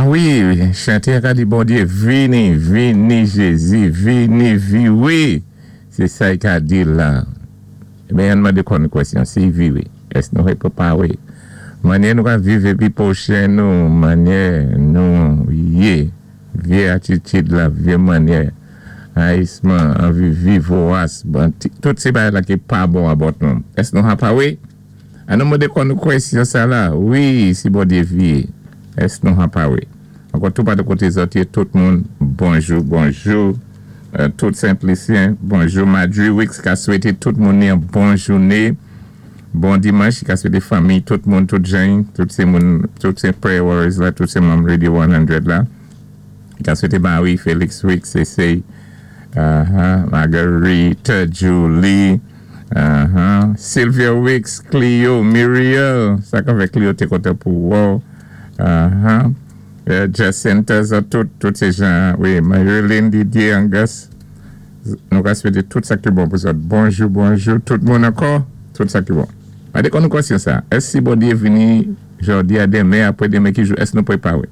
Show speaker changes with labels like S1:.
S1: A wi, chanté a ka di Bondyé, "Vini, vini Jézi, vini viwé." Sé sa i ka di la. Enben, ann mandé kò nou kwèsyon, si i viwé, èské nou pwépawé? Mannyè nou ka viv épi pwochen nou, mannyè nou yé, vyé atitid la, vyé mannyè, rayisman, anvi viv voras, tout sé bagay la ki pa bon abòt nou. Èské nou pawé? An nou mandé kò nou kwèsyon sa la, wi, si Bondyé viyé, èské nou pawé? Ankò tou patou koté zòt yé, tout moun, bonjou, bonjou. Tout Senplisyen, bonjou. Madri Wicks ka swété tout moun yon bon jouné. Bon dimanch, ka swété fanmi, tout moun, tout jan, tout sé moun, tout sé Prayer Warriors la, tout sé manm Radio 100 la. Ka swété Marie, Félix Wicks, Cécile, Marguerite, Julie, Sylvia Wicks, Clio, Muriel, sa ka fè Clio té kontan pou wè w. Jacinta, tout, tout sé jan, wi, Marilyn, Didier, Angus, nou ka swété tout sa ki bon pou zòt. Bonjou, bonjou, tout moun ankò, tout sa ki bon. Mandé kò nou kwèsyon sa, èské si Bondyé vini jòdi a, denmen, apwé denmen ki jou, èské nou pwépawé?